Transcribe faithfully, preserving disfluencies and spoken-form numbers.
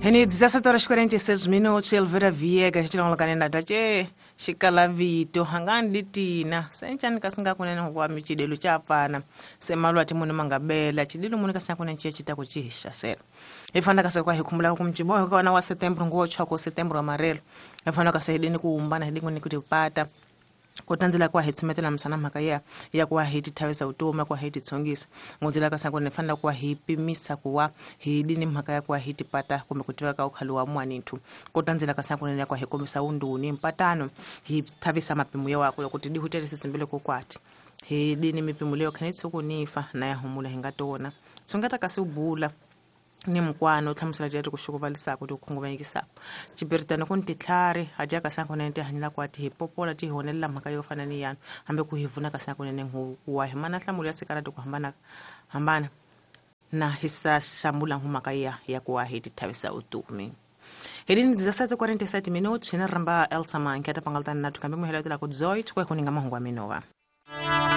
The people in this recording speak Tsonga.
Ene dezessete horas e quarenta e seis minutos, Elvira Viegas, tilongolokane tache xikala vito hangani litina senchani kasinga kunene kwa michidelo chapana semalwa timunu mangabela chidilo munu kasinga kunene chiya chita kuchihisha selo ifana kase kwa hikumbula kumchibo kwa wa setembro ngochwa ko setembro amarelo ifana kase hidini kuumbana hidini kutipata kutanzila kwa hitsumetela msana mhaka ya ya kwa hiti thawisa utoma kwa hiti tsongisa ngonzila ka sango nefana kwa hipimisa kuwa hidini mhaka ya kwa hiti pata kumbe kutiwa ka ukhali wa mwanithu kutanzila ka sango nene kwa hikomisa unduni mpatano hithavisa mapimo ya wako kuti dihuterisa tsimbele kokwati hidini mipimo leyo khanetsi kunifa na ya humula hingatona tsongata kasi ubula ni mkwano tlhamusela jari kuxukuvalisako kuti kukhunguvanyekisako cipiritano ku ni titlhari haja ka sango nene tihanyela kwa ti hi popola ti honelela mhaka yo fana ni yano hambi ku hi vuna ka sango nene huwa hi mana nhlamulo ya sikarati ku hambana hambana na hi sa xamula mhaka ya ya ku wa hi ti thavisa utumi helini dezessete e quarenta e sete minutos na ramba Elsa Manketa pangaltana na tukambe muheletela ku dzoi tshikwe kuninga mahungu wa minova.